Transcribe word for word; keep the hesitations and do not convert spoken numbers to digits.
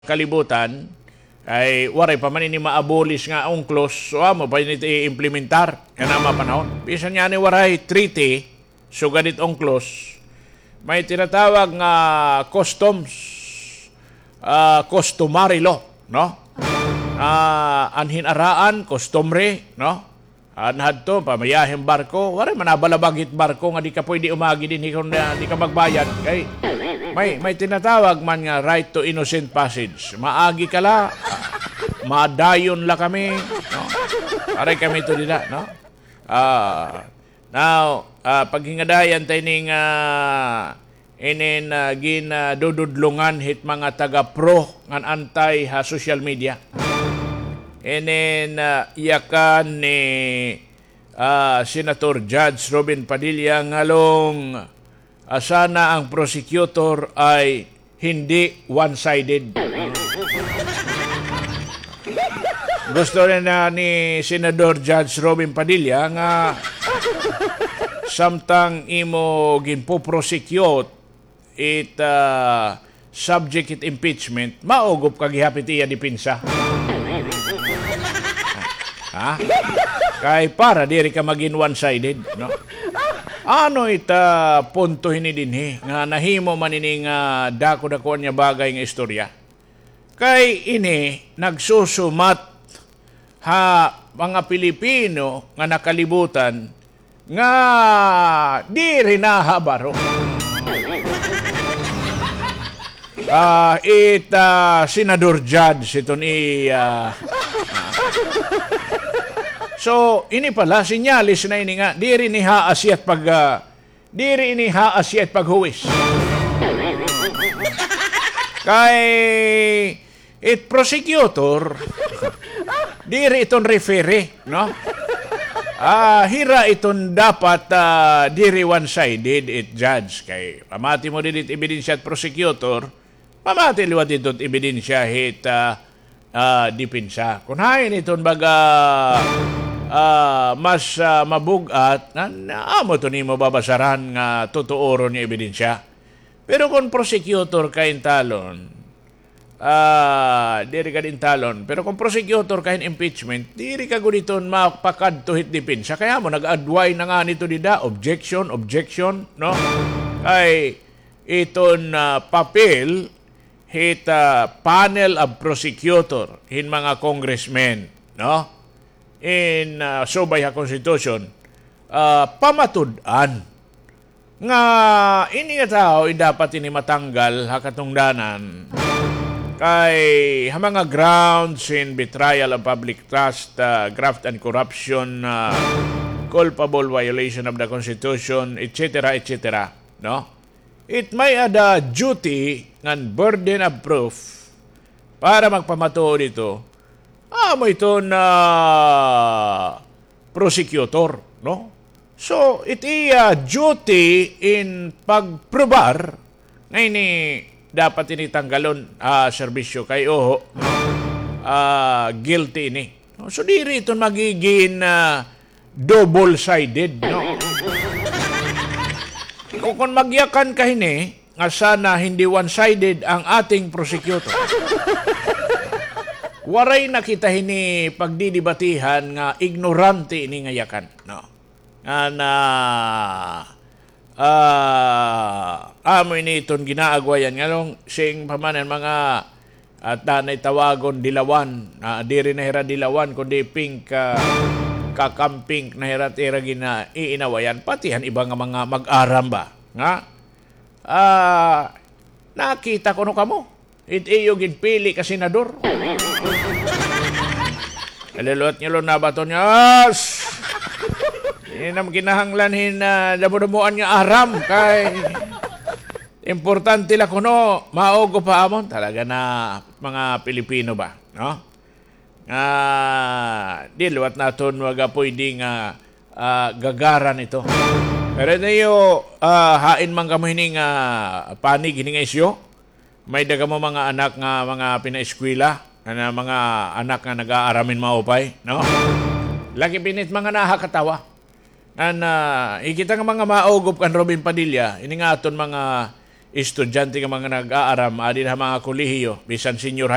kalibutan, ay waray pa man ini ma-abolish nga UNCLOS, so amo pa ini it i-implementar yana nga mga panahon. Bisan ngani waray treaty, sugad it UNCLOS, may tinatawag nga customs, ah, customary law, no? Ah, an hin-araan, customary, no? An hadto, pamayahe hin barko, waray man nabalabag hit barko nga di ka pwede umagi dinhi kon, ah, di ka magbayad. Kay may, may tinatawag man nga right to innocent passage. Maagi ka la, madayon la kami, no? Waray kami to dida, no? Ah, now, ah, paghingadayan ta ini nga inin, ah, ginadududlongan hit mga taga-pro ngan anti ha social media. Inin, ah, yakan ni, ah, Senator Judge Robin Padilla ngalong, ah, sana ang prosecutor ay hindi one-sided. Gusto rin na ni Senador Judge Robin Padilla nga samtang imo ginpo-prosecute it, ah, subject it impeachment, maugop ka gihap it iya depensa. Ha? Kay para diri ka magin one-sided, no? Ano it, ah, punto hini dinhi nga nahimo man ini nga dako-dakoan nga bagay nga istorya? Kay ini nagsusumat ha mga Pilipino nga nakalibutan nga diri nahabaro. Ah, it, ah, Senador Judge iton i, ah, so, ini pala, sinyalis na ini nga, diri ni haas it pag, ah, diri ini haas it paghuwis. Kay it prosecutor, diri iton referee, no? Ah, hira iton dapat, ah, diri one-sided it judge. Kay pamati mo didi it ebidensya it prosecutor, pamati liwat didto it ebidensya hit, ah, ah, depensa. Kon hain iton baga, ah, mas, ah, mabug-at, na, na, amo iton imo babasaran nga tutuoron nga ebidensya. Pero kon prosecutor ka hin talon, ah, diri ka dinhi talon. Pero kon prosecutor ka hin impeachment, diri ka gud iton mapakadto hit depensa. Kay amo, nag-adway na ngani ito dida, objection, objection, no? Kay iton, ah, papel hit, ah, panel of prosecutor hin mga congressmen, no? In, ah, subay ha Constitution, ah, pamatud-an nga ini nga tawo, eh, dapat ini matanggal ha katungdanan. Kay ha mga grounds in betrayal of public trust, ah, graft and corruption, ah, culpable violation of the Constitution, et cetera, et cetera, no? It may-ada duty ngan burden of proof para magpamatuod ito, amo iton prosecutor, no? So, it iya duty in pagprobar nga ini dapat ini tanggalon, ah, serbisyo kay oho, ah, guilty ini. No? So, diri iton magigin, ah, double-sided, no? Kon, kon magyakan ka hini, nga sana hindi one-sided ang ating prosecutor. Waray na kita hini pagdidibatihan nga ignorante ini nga yakan, no? Nga na, ah, amo ini iton ginaagwayan nganong sing pa man an mga, ah, danay tawagon dilawan, ah, diri na hira dilawan kundi pink, ah, kakampink na hira it ira gina-, iinawayan. Pati han iba nga mga mag-aram ba nga, ah, nakita kuno kamo it iyo ginpili ka senador. Kaliluwat niyo, lo, nabaton niyo. As! Ini nam kinahanglan hin, ah, damo-damoan nga aram kay importante la kuno, maugop ha amon. Talaga na mga Pilipino ba, no? Ah, di liwat naton waray pwede nga, ah, gagaran ito. Pero niyo, ah, hain man kamo hini nga panig hini nga isyu? May-ada kamo mga anak nga mga pinaeskwela, nga mga anak nga nag-aaram hin maupay, no? Lakip ini it mga nakakatawa. An, ah, hikit nga mga maugop kan Robin Padilla, ini nga aton mga estudyante nga mga nag-aaram, adi ha mga kolehiyo, bisan senior